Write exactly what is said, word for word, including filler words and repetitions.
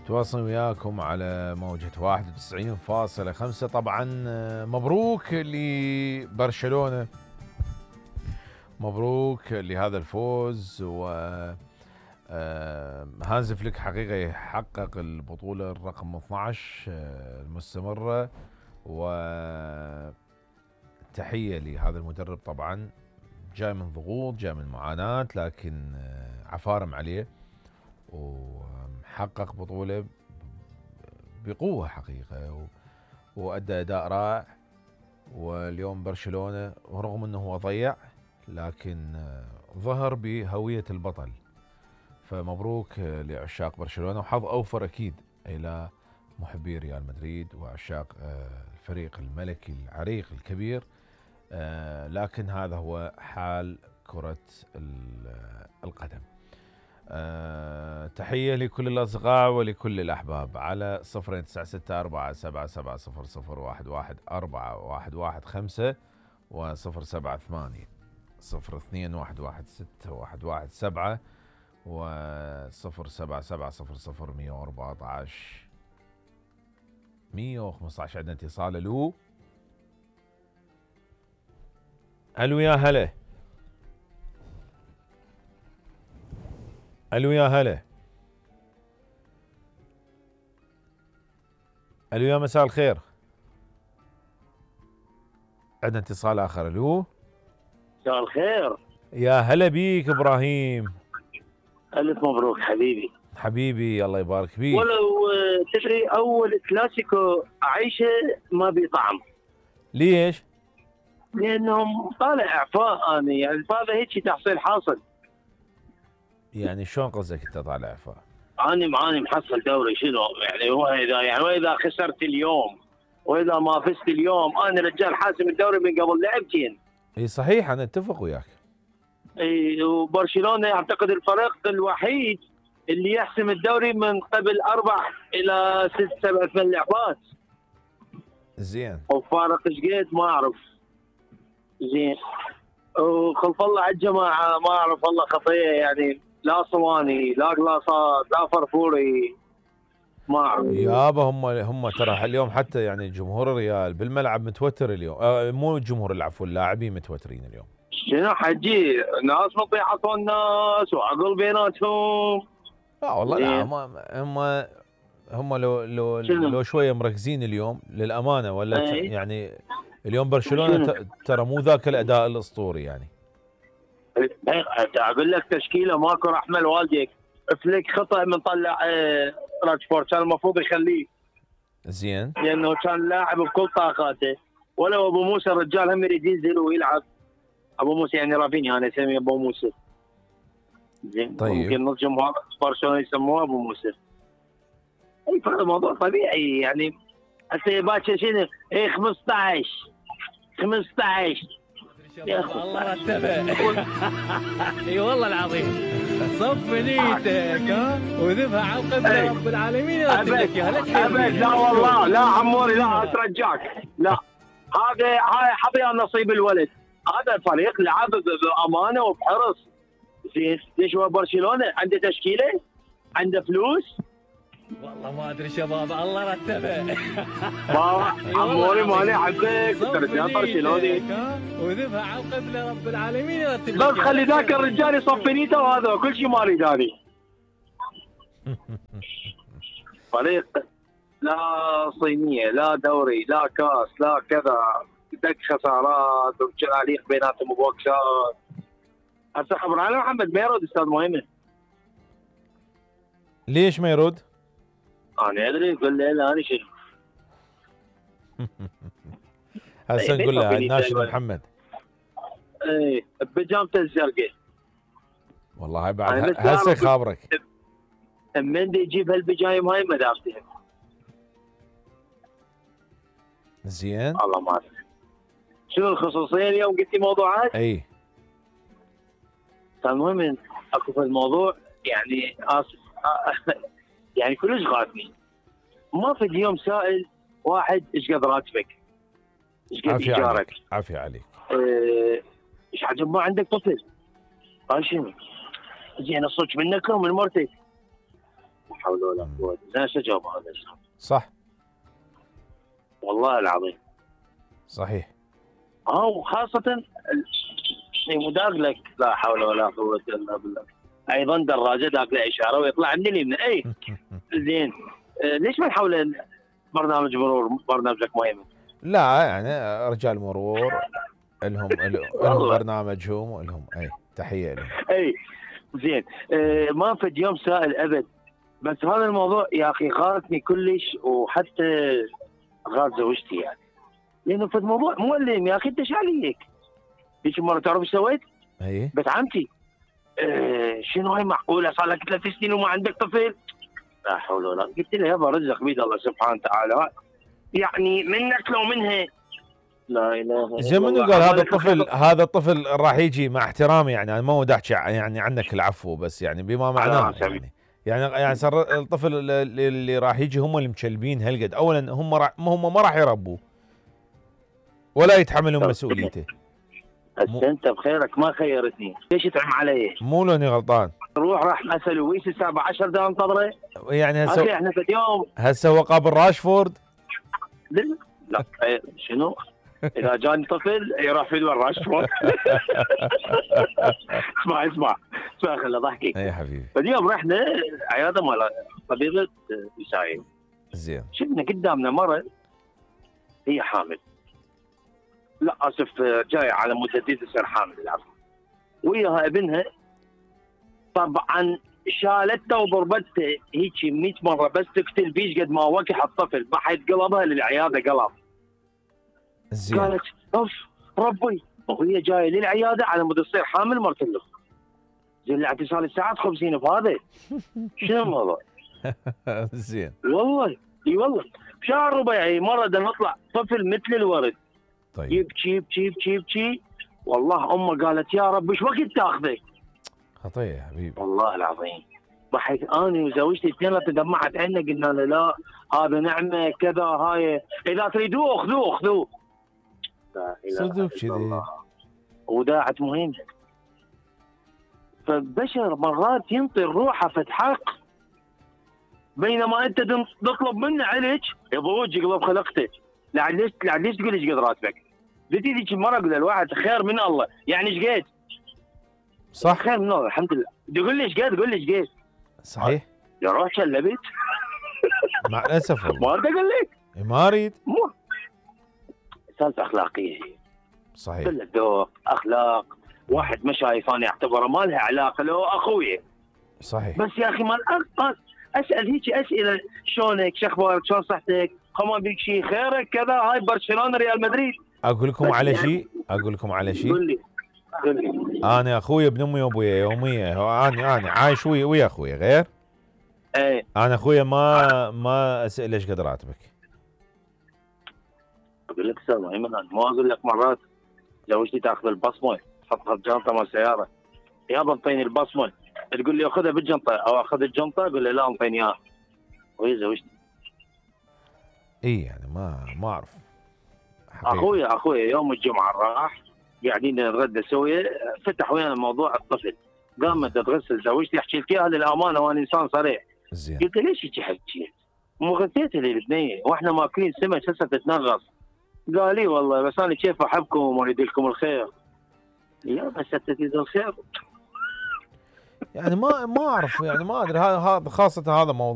تواصل وياكم على موجة واحد وتسعين فاصلة خمسة. طبعا مبروك لبرشلونة، مبروك لهذا الفوز. و هانز فليك حقيقة يحقق البطولة الرقم اثنعش المستمرة، وتحية لهذا المدرب. طبعا جاي من ضغوط، جاي من معاناة، لكن عفارم عليه وحقق بطولة بقوة حقيقة، وأدى أداء رائع. واليوم برشلونة رغم أنه هو ضيع لكن ظهر بهوية البطل، فمبروك لعشاق برشلونة، وحظ أوفر أكيد إلى محبي ريال مدريد وعشاق الفريق الملكي العريق الكبير. لكن هذا هو حال كرة القدم. أه تحية لكل الأصدقاء ولكل الأحباب على صفرين تسعة ستة أربعة سبعة سبعة صفر صفر واحد واحد أربعة واحد واحد خمسة وصفر سبعة ثمانية صفر اثنين واحد واحد ستة واحد واحد سبعة وصفر سبعة سبعة صفر صفر مية وأربعة عشر مية وخمسة عشر. عندنا اتصال. ألو ألو يا هلا. ألو يا هلا. ألو يا مساء الخير. عندنا اتصال آخر. ألو مساء الخير. يا هلا بيك إبراهيم. ألف مبروك حبيبي. حبيبي الله يبارك بيك. ولو تدري أول كلاسيكو أعيشه ما بيطعم. ليش؟ لأنهم طالع إعفاء أنا، يعني هذا هيك تحصيل حاصل. يعني شلون قصدك أنت طالع إعفاء؟ أنا معاني محصل دوري شنو يعني؟ هو إذا يعني وإذا خسرت اليوم وإذا ما فزت اليوم أنا رجال حاسم الدوري من قبل لعبتين. اي صحيح، أنا أتفق وياك. اي وبرشلونة أعتقد الفريق الوحيد اللي يحسم الدوري من قبل أربع إلى ست سبع ثمان لعبات. زين. وفارق ايش قد ما أعرف. زين. وخلف الله على الجماعة ما أعرف والله خطية، يعني لا صواني لا قلاصات لا فرفوري ما أعرف. يابا هم هم ترى اليوم حتى يعني جمهور الريال بالملعب متوتر اليوم. آه مو الجمهور، العفو، اللاعبين متوترين اليوم. شنو حجي ناس مطيعة الناس وعقل بيناتهم. لا والله لا، هم هم هم لو لو شنو؟ لو شويه مركزين اليوم للامانه، ولا أي. يعني اليوم برشلونه ترى مو ذاك الاداء الاسطوري يعني. اقول لك تشكيله ماكو رحمه لوالديك. فليك خطا من طلع راشفورد، كان المفروض يخليه. زين. لانه كان لاعب بكل طاقاته. ولو ابو موسى الرجال هم يريد ينزل ويلعب. ابو موسى يعني رافينيا، انا اسميه ابو موسى. زين. طيب. ممكن نص جمهور برشلونه يسموه ابو موسى. اي فهذا موضوع طبيعي يعني. هسه باكر شنو؟ اي خمسطعش خمسطعش يا الله رتبه. اي والله العظيم صف نيتك ها وذبها على قبل رب العالمين. ابد ابد لا والله لا عموري لا اترجاك لا. هذا هاي حظي نصيب الولد. هذا الفريق لعب بامانه وبحرص. زين. ليش هو برشلونه عنده تشكيله؟ عنده فلوس؟ والله ما ادري شباب الله رتبه. ما عموري ماني احبك رجال برشلوني وذبها على قبل رب العالمين يرتب. بس خلي ذاك الرجال يصفي نيته وهذا كل شيء ما اريد اني. فريق لا صينيه لا دوري لا كاس لا كذا، دق خسارات وشراليق بيناتهم وبوكسات. هسه خبر على محمد ما يرد استاذ مهمه. ليش ما يرد؟ انا ادري يقول لي لا انا شنو. هسه نقول له ناشد محمد. ايه بجامته الزرقاء. والله هاي بعد هسه خابرك. من دي يجيب هالبجايم هاي ما دافتهم. زين. والله ما ادري. شنو الخصوصيه اليوم قلتي موضوعات؟ اي. المهم اكو في الموضوع يعني اسف يعني كلش غاثني. ما في اليوم سائل واحد ايش قد راتبك؟ ايش قد ايجارك؟ عافيه عليك. ايش اه حجم ما عندك طفل؟ قال شنو؟ زين الصوت منك ومن مرتك. حول ولا قوه. زين شو جاوب هذا الشاب؟ صح والله العظيم. صحيح. اه وخاصه مداق لك لا حول ولا قوه الا بالله. ايضا دراجه داق له اشاره ويطلع من اليمين. اي زين آه ليش ما نحول برنامج مرور برنامجك مهم؟ لا يعني رجال مرور لهم لهم برنامجهم ولهم اي تحيه لهم. اي زين آه ما فد يوم سائل ابد، بس هذا الموضوع يا اخي غارتني كلش، وحتى غار زوجتي يعني، لانه فد موضوع مؤلم يا اخي. انت ايش عليك؟ هيك مره تعرف ايش سويت؟ اي بس عمتي آه شنو هاي معقوله صار لك ثلاث سنين وما عندك طفل؟ لا حول ولا. قلت له يابا رزق بيد الله سبحانه وتعالى، يعني منك لو منها. لا اله الا الله. زين منو قال هذا الطفل هذا الطفل راح يجي؟ مع احترامي يعني انا ما ودي احكي يعني عنك العفو، بس يعني بما معناه يعني يعني يعني صار الطفل اللي, اللي راح يجي هم اللي مكلبين هالقد. اولا هم راح هم ما راح يربوه ولا يتحملون مسؤوليته. هسه انت بخيرك ما خيرتني، ليش تعم علي؟ مو لاني غلطان. روح راح اسال ويس الساعه عشرة دقائق انتظره. يعني هسه اخي احنا في اليوم هسه هو قابل راشفورد؟ لا لا شنو؟ اذا جاني طفل يروح في الور راشفورد. اسمع اسمع اسمع خلي ضحكي. اي يا حبيبي. فاليوم رحنا عياده مال طبيبه نسائيه. زين. شفنا قدامنا مره هي حامل، لا اسف جاي على مدة تصير حامل العفو، وياها ابنها. طبعا شالته وضربته هيك مئة مره بس تقتل بيش قد ما وكح الطفل، بحيت قلبها للعياده قلب. زين. قالت اوف ربي، وهي جايه للعياده على مود تصير حامل مرت له. زين لعبتي صار لي ساعات خمسين بهذا. شنو الموضوع؟ زين. والله اي والله بشهر ربيعي مره نطلع طفل مثل الورد. طيب. يبكي يبكي يبكي يبكي والله امه قالت يا رب ايش وقت تاخذه؟ خطيه يا حبيبي. والله العظيم ضحك اني وزوجتي اثنين تدمعت عنا، قلنا له لا هذا نعمه كذا، هاي اذا تريدوه خذوه خذوه. صدق كذي. وداعت مهمه. فالبشر مرات ينطي روحه فتحق، بينما انت تطلب منه عليك يضوج يقلب خلقته. لا ليش لا ليش تقول ايش قد راتبك؟ بدي ذيك المره اقول للواحد خير من الله، يعني ايش قد؟ صح. خير من الله الحمد لله. تقول لي ايش قد؟ قول لي ايش قد؟ صحيح. يا روح شلبت. مع الاسف والله. ما اريد اقول لك. ما اريد. مو سالفه اخلاقيه هي. صحيح. كل ذوق اخلاق. واحد ما شايف انا اعتبره ما لها علاقه له اخوي. صحيح. بس يا اخي ما اسال هيك اسئله، شلونك؟ شو اخبارك؟ شلون صحتك؟ خما بيك شيء خيرك كذا. هاي برشلونه ريال مدريد. اقول لكم على شيء اقول لكم على شيء قول لي قول لي. انا اخوي ابن امي وابويا يوميا، انا انا عايش ويا ويا اخوي غير. ايه انا اخويا ما ما اسال ايش قد راتبك. اقول لك سامع ايمن، ما اقول لك مرات زوجتي تاخذ البصمه تحطها بجنطه مال السياره، يابا انطيني البصمه، تقول لي خذها بالجنطه او اخذ الجنطه، اقول لها لا انطيني اياها، وهي زوجتي. اي يعني ما ما اعرف حقيقة. اخويا اخويا يوم الجمعه راح قاعدين نتغدى سويا، فتح ويانا موضوع الطفل، قامت تغسل زوجتي، احكي لك اياها للامانه وانا انسان صريح. زين. قلت ليش هيك حكيت؟ مو غثيتها للبنيه واحنا ماكلين سمك هسه تتنغص. قال لي والله بس انا كيف احبكم واريد لكم الخير. يا بس تريد الخير. يعني ما ما اعرف يعني ما ادري، هذا خاصه هذا موضوع